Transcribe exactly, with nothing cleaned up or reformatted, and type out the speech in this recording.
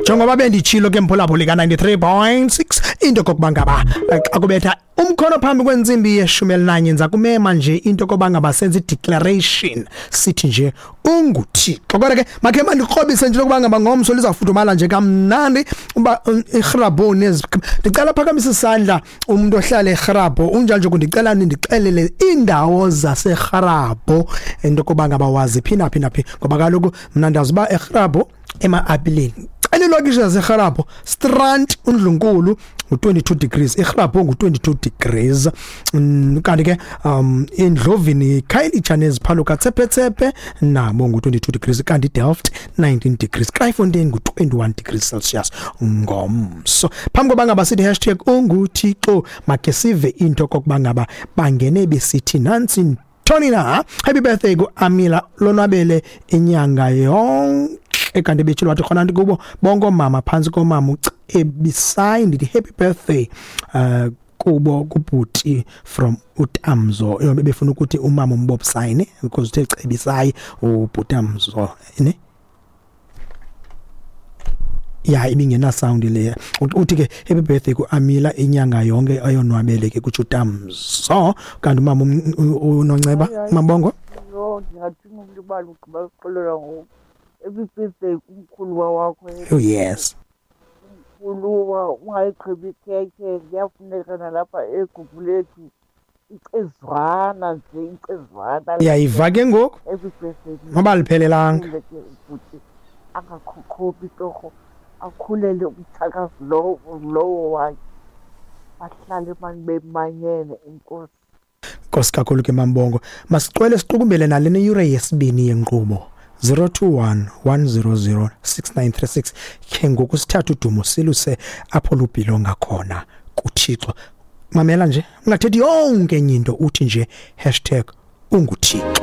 Njengoba benditshilo ke, mphulaphuli ka ninety-three point six, into kokuba ngaba eh, xa kubetha umkhono phambi kwentsimbi yeshumi elinanye, ndiza kumema nje into koba ngaba senze i-declaration, sithi nje unguThixo. Kodwa ke makhe mandikrobise nje lokuba ngaba ngomso lizawufudumala nje kamnandi uba um, iRhabu nezi. Ndicela phakamisa isandla umuntu ohlala eRhabu. Unjalo nje, kundicela nindixelele iindawo zaseRhabu, into koba ngaba wazi phi naphi naphi, ngoba kaloku mna ndazi uba eRhabu ema-apileni. Cela iilokishi zaseRharapho. Strand, uNdlunkulu ngu-twenty-two degrees, iRharapho ngu-twenty-two degrees. mm, kanti ke um Indlovini, Khayelitsha neziphaluka tsephe nabo ngu-twenty-two degrees, kanti Delft nineteen degrees, Kraaifontein ngu-twenty-one degrees Celsius ngomso. Phambi koba ngaba sithi hashtag unguThixo, makhe sive into kokuba ngaba bangene besithi nantsi Tony na happy birthday ku Amila, lonwabele inyanga yonke. Kanti betshilo wathi khona kubo bonke oomama phantsi komama uCebisayi, ndithi happy birthday uh kubo kubhuti from uTamzo. Befuna ukuthi umama umbobsayi ne, because uthe Cebisayi ubhutamzo ne. Ya, ibingena sound le. Uthi ke happy birthday kuAmila, inyanga yonke ayonwabele ke, kutsho uTamzo. Kanti umama uNonceba Mabongo. Yho, ndingathini ukulibala ugqiba ukuxolela ngoku. Happy birthday kumkhuluwa wakho. Oh yes. Umkhuluwa, ungayigqibi ikhekhe, kuyafuneka nalapha eGugulethu icezwana nje, icezwana. Uyayiva ke ngoku. Happy birthday. Noba liphelelanga. Akhule ke ubhuti, angakhokhobi torho, akhulele umtshakazi lowo lowo wakhe, bahlale mani bemanyene. Enkosi. Nkosi kakhulu ke, Mambongo. Masicwele siqukumbele nale yure yesibini yenkqubo, zero two one, one zero zero, six nine three six. Ke ngoku sithatha udumo siluse apho lubhilonga khona, kuThixo. Mamela nje, ungathethi yonke enye into, uthi nje hashtag unguThixo.